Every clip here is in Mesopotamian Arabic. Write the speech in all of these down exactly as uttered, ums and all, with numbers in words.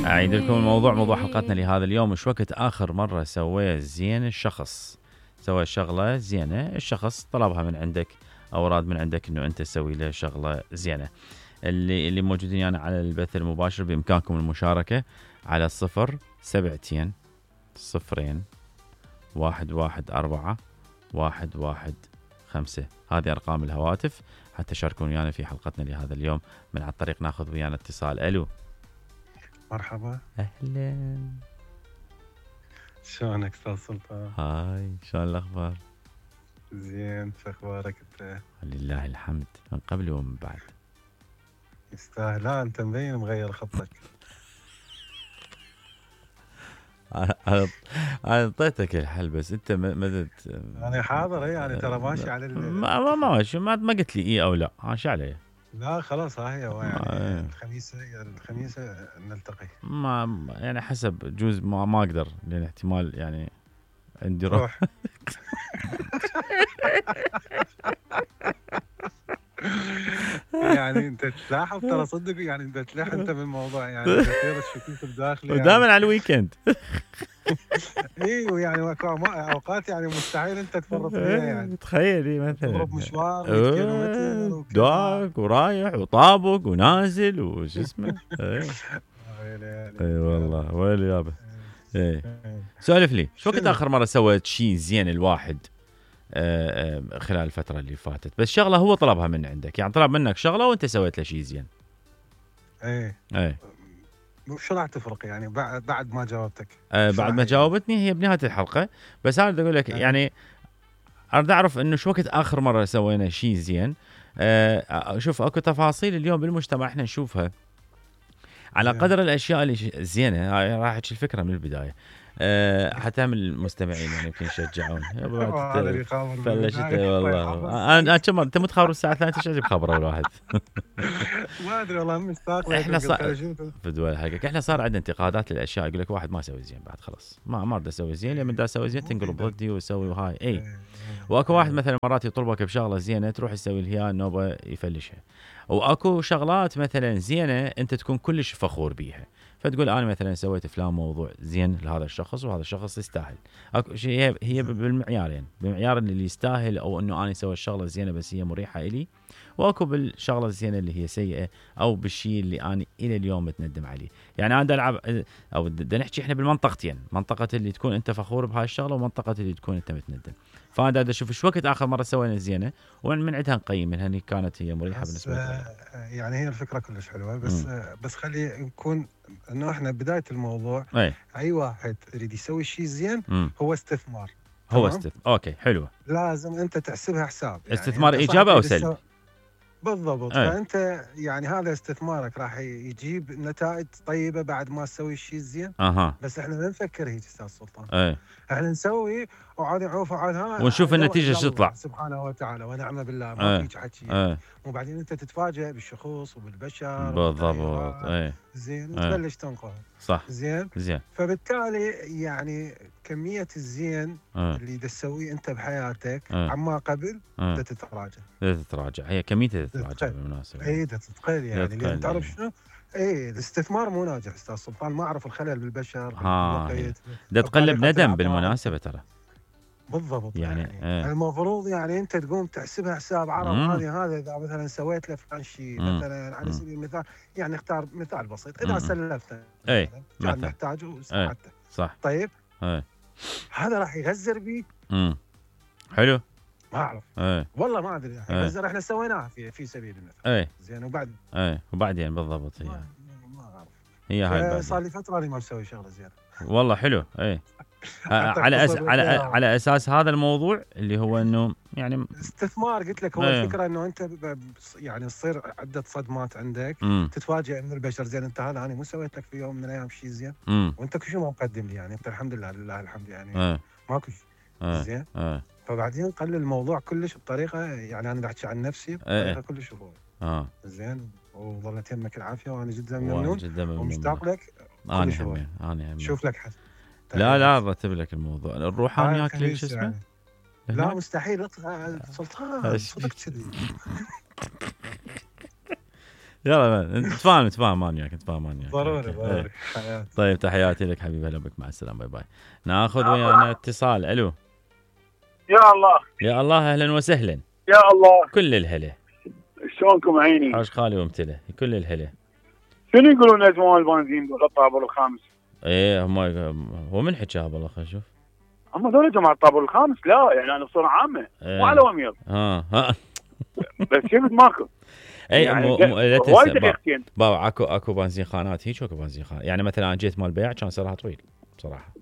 أعيد لكم الموضوع. موضوع حلقتنا لهذا اليوم: وش وقت آخر مرة سوى زين الشخص؟ سوى شغلة زينة، الشخص طلبها من عندك أو أراد من عندك إنه أنت تسوي له شغلة زينة. اللي اللي موجودين يعني على البث المباشر بإمكانكم المشاركة على صفر سبعتين صفرين واحد واحد أربعة واحد واحد خمسة. هذه أرقام الهواتف حتى شاركون ويانا في حلقتنا لهذا اليوم. من على الطريق ناخذ ويانا اتصال. ألو، مرحبا. أهلا، شلونك استاذ سلطان؟ هاي، شلون الأخبار؟ زين، شو اخبارك انت؟ لله الحمد، من قبل ومن بعد. يستاهل. لا انت مبين مغير خطك. انا اعطيتك الحل بس انت ما انا حاضر. اي يعني ترى ماشي على ما ما ماشي، ما ما قلت لي اي او لا. ماشي عليه. لا خلاص، ها هي يعني الخميس الخميس نلتقي. ما يعني حسب جوز ما, ما اقدر، لان احتمال يعني عندي روح. يعني انت تلاحظ ترى صدق، يعني انت تلاحظ انت بالموضوع، يعني كثير الشكوك الداخلي ودائما يعني. على الويكند. ايوه يعني اوقات يعني مستحيل انت تفرط فيها. يعني تخيلي مثلا تضرب مشوار مية كيلومتر داق ورايح وطابق ونازل وش اسمه. اي والله ويلي يابا. اي سولف لي، شو وقت اخر مره سويت شيء زين الواحد خلال الفتره اللي فاتت؟ بس شغله هو طلبها من عندك، يعني طلب منك شغله وانت سويت له شيء زين. ايه ايه شو راح تفرق يعني بعد بعد ما جاوبتك؟ آه بعد ما جاوبتني هي بنهايه الحلقه. بس انا بدي اقول لك يعني اريد اعرف انه شو وقت اخر مره سوينا شيء زين. آه شوف، اكو تفاصيل اليوم بالمجتمع احنا نشوفها على قدر الاشياء اللي زينه. هاي راح احكي الفكره من البدايه أه حتى من المستمعين يعني يمكن يشجعون. فلشت والله. انا كم انت متخابر الساعه ثلاثة ايش بخبره اول واحد؟ ما ادري والله مشتاق. احنا صار فدوى حقك، احنا صار عندنا انتقادات للاشياء. يقول لك واحد ما يسوي زين بعد خلاص ما ما اريد اسوي زين، لما بدي اسوي زين تنقلب ضدي واسوي وهاي. اي واكو واحد مثلا مرات يطلبك بشغله زينه تروح تسوي لها نوبه يفلشها. واكو شغلات مثلا زينه انت تكون كلش فخور بيها، فتقول انا مثلا سويت فلان موضوع زين لهذا الشخص وهذا الشخص يستاهل. اكو شيء هي بالمعيارين، بمعيار اللي يستاهل او انه انا اسوي الشغله زينه بس هي مريحه الي، واكو بالشغله الزينه اللي هي سيئه او بالشيء اللي انا الى اليوم متندم عليه. يعني انا العب او بدنا نحكي احنا بالمنطقتين، منطقه اللي تكون انت فخور بهاي الشغله ومنطقه اللي تكون انت متندم. فانا بدي اشوف شو وقت اخر مره سوينا زينه ومن عندها نقيم منها ان كانت هي مريحه بالنسبه لنا. يعني هي الفكره كلش حلوه بس م. بس خلي نكون انه احنا بدايه الموضوع اي, أي واحد يريد يسوي شيء زين م. هو استثمار. هو استثمار. اوكي حلوه. لازم انت تحسبها حساب. يعني استثمار ايجابي او سلبي. بالضبط. أي. فانت يعني هذا استثمارك راح يجيب نتائج طيبه بعد ما تسوي الشيء الزين. أه. بس احنا ما نفكر هيك استاذ سلطان. أي. احنا نسوي وعاد نعوف وعاد ها ونشوف النتيجه شو تطلع سبحانه وتعالى ونعم بالله. ما فيك حكي. وبعدين انت تتفاجئ بالشخوص وبالبشر. بالضبط. اي زين وتبلش تنقل. صح. زين زين. فبالتالي يعني كميه الزين أه. اللي تسويه انت بحياتك أه. عما قبل أه. تتراجع. تتراجع هي كميتها تتراجع بالمناسبه. اي تتقل يعني لان تعرف شنو؟ ايه الاستثمار مو ناجح استاذ سلطان. ما اعرف الخلل بالبشر بالوقت. ده تقلب ندم بالمناسبه ترى. بالضبط. يعني, يعني ايه. المفروض يعني انت تقوم تحسبها حساب عرب. هذه هذا اذا مثلا سويت له فلان شيء مثلا على سبيل المثال، يعني اختار مثال بسيط. اذا سلفته اي كان محتاجه وساعدته. صح. طيب ايه. هذا راح يغزر بيه. امم حلو. ما اعرف. ايه. والله ما ادري. يغزر احنا سويناها في في سبيل المثال. ايه. زين وبعد ايه وبعدين بالضبط هي ما, ما اعرف. هي هاي صار لي فتره اني ما مسوي شغله زينه. والله حلو. ايه على أس... على على اساس هذا الموضوع اللي هو انه يعني استثمار. قلت لك هو ايه. الفكره انه انت يعني تصير عده صدمات عندك. مم. تتفاجئ من البشر. زين انت هذا انا مو سويت لك في يوم من الايام شيء زين. مم. وانت كل شيء ما مقدم لي. يعني انت الحمد لله لله الحمد يعني ايه. ماكو شيء ايه. زين. ايه. فبعدين قل الموضوع كلش بطريقه، يعني انا بحكي عن نفسي بطريقه ايه. كلش هو اه زين. وظلت يمك العافيه وانا جدا ممنون ومشتاق لك. انا همين انا همين شوف لك حد. لا لا رتب لك الموضوع. الروحاني ياكل شو اسمه يعني. لا مستحيل سلطان صدق كذي. يلا نتفاهم نتفاهم انا وياك نتفاهم انا وياك. ضروري ضروري. طيب تحياتي لك حبيبي، هلا بك، مع السلامه، باي باي. ناخذ ويانا اتصال. الو. يا الله يا الله، اهلا وسهلا. يا الله، كل الهلا. شلونكم عيني؟ حاج خالي وامتله، كل الهلا. شنو يقولون ازمان البنزين بالطابور الخامس؟ ايه هم هو من حكاها والله. خلينا نشوف. هم ذول جماعه الطابور الخامس، لا يعني انا بصوره عامه إيه. مو على وميض. ها ها بس شفت ماكو. اي يعني مو مو لا وايد تنسى دقيقتين. بابا، اكو اكو بنزين خانات هيك، اكو بنزين خانات. يعني مثلا انا جيت مال بيع كان سعرها طويل بصراحه.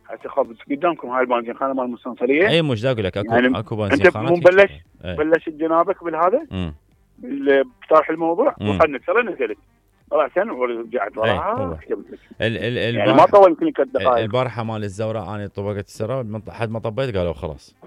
هسه خبز قدامكم هاي البنزين خانه مال المستنصريه. اي مش دا اقول لك اكو يعني اكو بنزين انت خانات. مو مبلش ايه. بلشت جنابك بالهذا امم بطرح الموضوع مم. وخلنا ترى نزلت راسا ورجعت هو. وراها حكمت لك. ال ال يعني ما البارحه طول يمكن ثلاث دقائق. البارحه مال الزوراء انا طبقت السراء، حد ما طبيت قالوا خلاص